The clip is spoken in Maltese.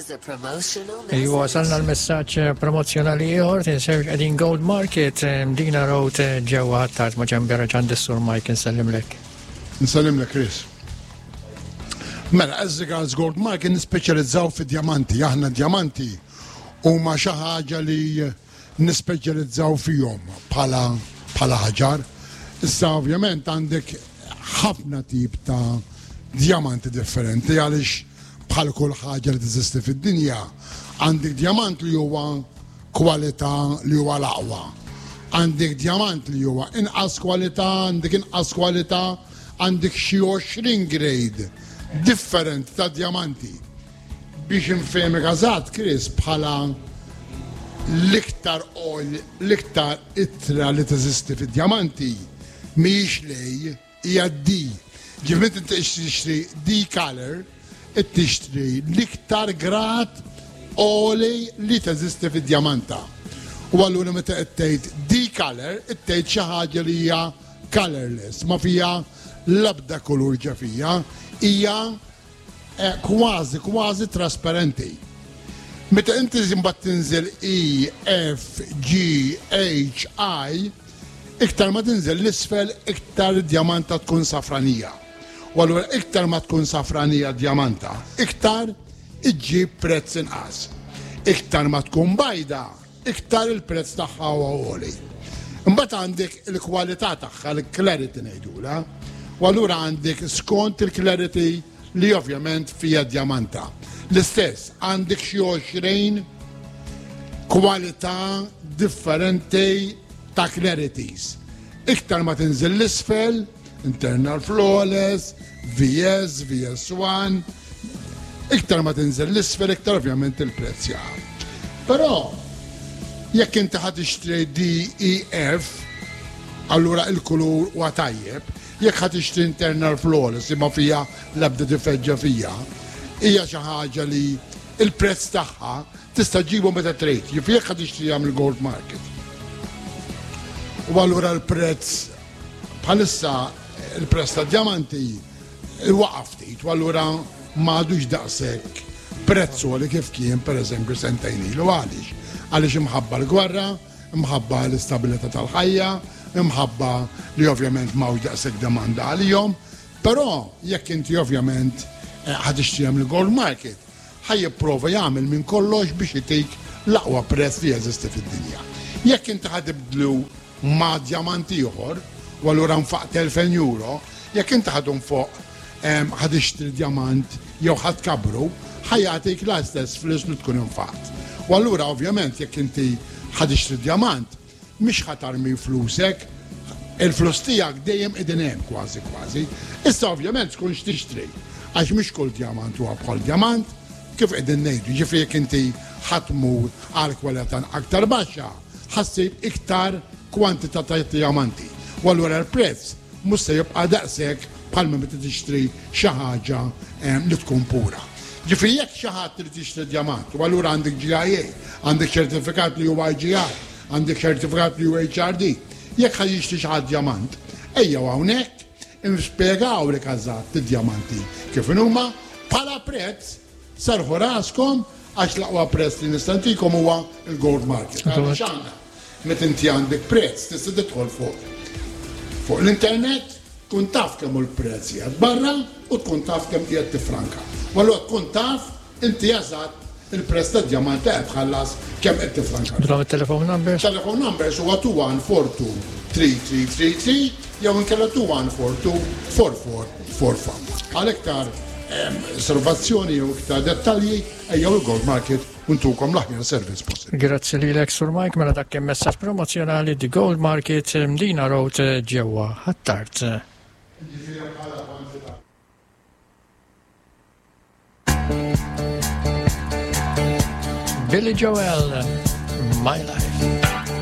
Iwa, wasalna l-messaġġ promozzjonali ieħor tinsewx qegħdin Gold Market Mdina Road ġewwa Ħ'Attard ma' ġenbi Raġan Sur Mike insellimlek. Nsellimlek Chris. Mela, as regards Gold Market nispeċjalizzaw fi djamanti, aħna djamanti huma xi ħaġa li nispeċjalizzaw fihom bħala bħala ħaġar. Issa ovvjament għandek ħafna tip ta' djamanti differenti għaliex bħal kull ħaġa li teżisti fid-dinja għandek djamant li huwa kwalità li huwa l-aqwa. Għandek djamant li huwa inqas kwalità, għandek inqas kwalità, għandek xi 20 grade differenti ta' djamanti. Biex infehmek eżatt, Chris, bħala l-iktar oil, l-iktar ittra li teżisti fid-djamanti mhijiex l-A, hija D. Ġifieri meta inti tixtri D color, qed tixtri l-iktar grad għoli li teżisti fid-djamanta. U allura meta qed tgħid D color, qed tgħid xi ħaġa li hija colorless, ma fiha l-ebda kulur ġa fiha, hija Kważi, kważi trasparenti. Meta inti imbagħad tinżel E, F, G, H, I, iktar ma tinżel l-isfel, iktar id-djamanta tkun safranija. U allura iktar ma tkun safranija djamanta, iktar iġġib prezz inqas. Iktar ma tkun bajda, iktar il-prezz tagħha huwa għoli. Imbagħad għandek il-kwalità tagħha, il-clarity ngħidula. U allura għandek skont il-clarity li ovvjament fija djamanta. L-istess, għandek xi 20 kwalità differenti ta' clarities. Iktar ma tinżel l-isfel, Internal Flawless, VS, VS1, iktar ma tinżel l-isfel, iktar ovvjament il-prezz jaqa'. Però, jekk inti ħa tixtri DEF, allura il-kulur huwa tajjeb, jekk ħa tixtri Internal Flawless li ma fiha l-ebda difett ġa fija, hija xi ħaġa li il-prezz tagħha tista' ġibu meta trid, jiġifieri jekk ħa tixtriha mill-gold market. U allura l-prezz Bħalissa il-prezz tad-djamanti waqa' ftit u allura m'għadux daqshekk prezz għoli kif kien pereżempju sentejn ilu. Għaliex? Għaliex imħabba l-gwerra, imħabba l-istabilità tal-ħajja, imħabba li ovvjament m'hawnx daqshekk demanda għalihom. Però jekk inti ovvjament eh, ħa tixtrihom il-gold market, ħa jipprova jagħmel minn kollox biex itik l-aqwa prezz li jeżisti fid-dinja. Jekk inti ħa tibdlu ma' djamant ieħor u allura nfaqt 2000 euro, jekk inti ħa tunfoq ħa tixtri djamant jew ħa tkabbru, ħa jagħtik l-istess flus li tkun infaqt. U allura ovvjament jekk inti ħa tixtri djamant, mhix ħa tarmi flusek, il-flus tiegħek dejjem qegħdin hemm kważi kważi. Issa ovvjament tkun x'tixtri, għax mhix kull djamant huwa bħal djamant, kif qegħdin ngħidu, ġifieri jekk inti ħa tmur għal kwalità aktar baxxa, ħa ssib iktar kwantità ta' djamanti. U allura l-prezz mhux se jibqa' daqshekk bħalma meta tixtri xi ħaġa li tkun pura. Ġifieri jekk xi ħadd irid jixtri djamant u allura għandek GIA, għandek ċertifikat li huwa IGI, għandek ċertifikat li huwa HRD, jekk ħa jixtri xi ħadd djamant, ejjew hawnhekk inspjegawlek eżatt id-djamanti kif inhuma bħala prezz Serrħu raskom għax l-aqwa prezz li nista' ntikom huwa l-gold market. Għaliex aħna meta inti għandek prezz tista' tidħol fuq fuq l-internet tkun taf kemm hu l-prezz qiegħed barra u tkun taf kemm qiegħed tifranka. U allura tkun taf inti eżatt il-prezz tad-djamant li qed tħallas kemm qed tifranka. Dwar it-telephone numbers? Telephone numbers huwa 2142 3333 jew inkella 2142 4445. Għal iktar Osservazzjoni jew iktar dettalji ejjew il-Gold Market u ntukom l-aħjar servizz possibbli. Grazzi lilek Sur Mike mela dak kien messaġġ promozzjonali The Gold Market Mdina Road ġewwa Ħ'Attard. Billy Joel, My Life.